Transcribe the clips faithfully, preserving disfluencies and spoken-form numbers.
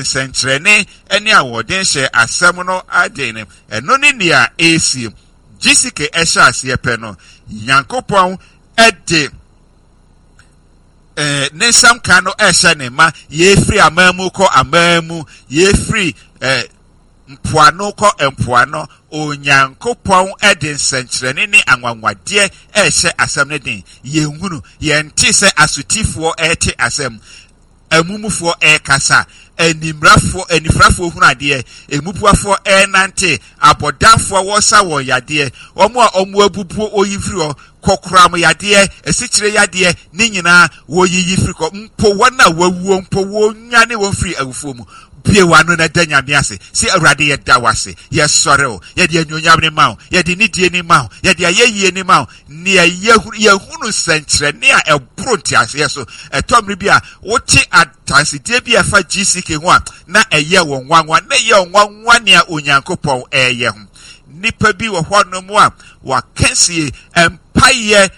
Nsɛnkyerɛnne ne ahoɔden hyɛ asɛm no aden. Ɛno ne nea ɛresi. G C K ɛhyɛ aseɛ pɛ no, Nyankopɔn ɛde ɛɛ ne nsɛm ka no ɛhyɛ ne ma. Yɛfiri aman mu kɔ aman mu, yɛfiri ɛɛ mpoano kɔ mpoano, Onyankopɔn ɛde nsɛnkyerɛnne ne anwanwadeɛ ɛhyɛ asɛm no den. Yɛnhunu, yɛnte sɛ asotifoɔ ɛte asɛm, amumufoɔ ɛrekasa, animrafoɔ anifrafoɔ hunu adeɛ, emubuafoɔ ɛrenante, abɔdanfoɔ wɔsa wɔn yadeɛ, wɔn a wɔn abubuo oyi firi hɔ, kɔkoram yadeɛ, esikyire yadeɛ ne nyinaa wɔyiyi firi kɔ, mpo wɔn a wɔawuo mpo wɔnyane wɔn firi awufoɔ mu. Bue w'ano na da Nyame ase sɛ, "Awurade, yɛda w'ase, yɛsɔre wo, yɛde anuonyam ne ma wo, yɛde nidie ne ma wo, yɛde ayɛyie ne ma wo." Nea yɛhunu nsɛnkyerɛnne a ɛboro nteaseɛ so. Ɛtɔ mmere bi a wote adansedie bi a ɛfa G C K ho a, na ɛyɛ wɔn nwanwa, na ɛyɛ wɔn nwanwa nea Onyankopɔn ɛyɛ ho. Nnipa bi wɔ hɔnom a wɔakansie mpayɛ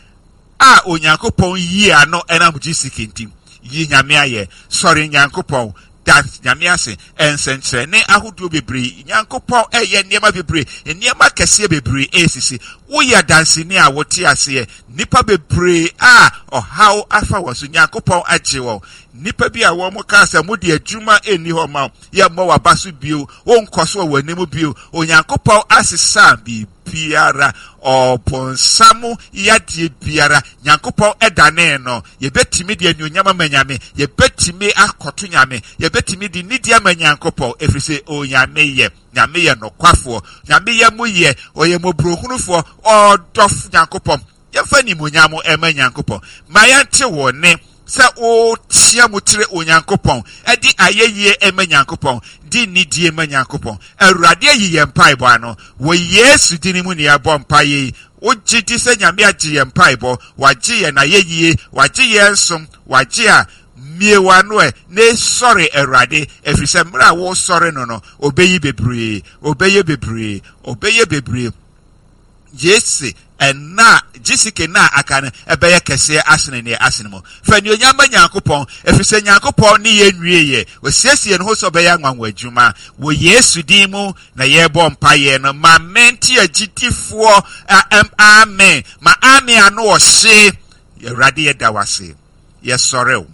a Onyankopɔn yie ano ɛnam G C K nti. Yi Nyame ayɛ, sɔre Nyankopɔn, da Nyame ase. Nsɛnkyerɛnne ahodoɔ bebree, Nyankopɔn ɛyɛ nneɛma bebree, nneɛma kɛseɛ bebree ɛresisi. Woyɛ adanseni a wote aseɛ. Nnipa bebree a ɔhaw afa wɔn so, Nyankopɔn agye wɔn. Nnipa bi a wɔn kaa sɛ mode adwuma ɛnni hɔ ma yɛmmɔ waba so bio, wonkɔ so wɔ w'anim bio, Onyankopɔn asesa biribiara. Ɔbɔnsam yadeɛ biara, Nyankopɔn ɛdane no. Yɛbɛtumi de anuonyam ama Nyame, yɛbɛtumi akɔto Nyame, yɛbɛtumi de nidi ama Nyankopɔn, ɛfiri sɛ Onyame yɛ Nyame, yɛ nokwafoɔ. Nyame yɛ mo yɛ, ɔyɛ mmɔborɔhunufoɔ, ɔdɔfo Nyankopɔn. Yɛmfa nimonyam ɛma Nyankopɔn. Ma yɛnte wɔ ne sɛ woteɛ mu kyerɛ Onyankopɔn, ɛde ayɛyie ɛma Nyankopɔn, de nidie ma Nyankopɔn. Awurade ayi yɛn mpaebɔ ano wɔ Yesu din mu ne yɛbɔ mpaeɛ yi. Wogye di sɛ Nyame agye yɛn mpaebɔ, wagye yɛn ayɛyie, wagye yɛn som, wagye a, mmie w'ano ɛ na esɔre Awurade, ɛfiri sɛ mmerɛ a wɔresɔre no no ɔbɛyi bebree, ɔbɛyɛ bebree, ɔbɛyɛ bebree. Yesi ɛna G C K na aka no ɛbɛyɛ kɛseɛ asene neɛ asene mu. Fa anuonyam ma Nyankopɔn, ɛfiri sɛ Nyankopɔn ne yɛn nwie yɛ. Osiesie ne ho sɛ ɔbɛyɛ anwanwa adwuma. Wɔ Yesu din mu na yɛrebɔ mpayɛ no. Ma mente agyidifoɔ amen. Ma amen ano ɔhye. Awurade, yɛda wase, yɛsɔre wo,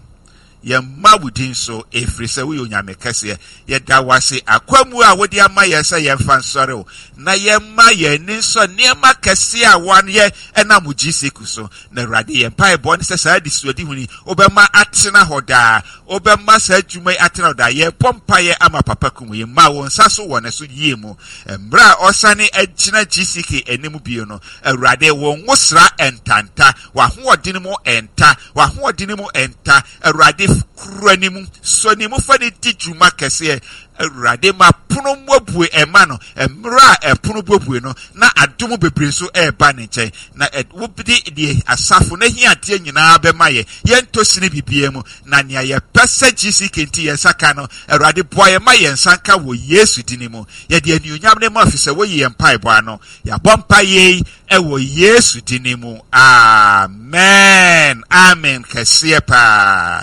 yɛmma wo din so, ɛfiri sɛ woyɛ Onyame kɛseɛ. Yɛda wase akwamu a wode ama yɛn sɛ yɛmfa nsɔre wo na yɛmma yɛn ani nsɔ nneɛma kɛseɛ a wɔayɛ ɛnam wo G C K so. Na Awurade, yɛn mpaebɔ ne sɛ saa adesuadehu yi wobɛma atena hɔ daa, wobɛma saa adwuma yi atena hɔ daa. Yɛbɔ mpaeɛ ama Papa Kum yi, ma wo nsa so wɔ ne so yie mu. Mmerɛ a ɔsane agyina G C K anim bio no, Awurade, wo nwosra ntanta, w'ahoɔden mu ɛnta, w'ahoɔden mu ɛnta. Awurade, kura ne mu, sɔ ne mu, fa ne di dwuma kɛseɛ. Awurade, ma pono mmuabue ɛma no. Mmerɛ a ɛpono buebue no, na adom bebree nso ɛreba ne nkyɛn, na wode deɛ asafo no ahiadeɛ nyinaa bɛma yɛ. Yɛntɔ sini biribiara mu, na nea yɛpɛ sɛ G C K nti yɛn nsa ka no, Awurade, boa yɛn ma yɛn nsa nka wɔ Yesu din mu. Yɛde anuonyam ne mu afi sɛ woyi yɛn mpaebɔ ano. Yɛabɔ mpa yei ɛwɔ Yesu din mu, amen. Amen kɛseɛ paa.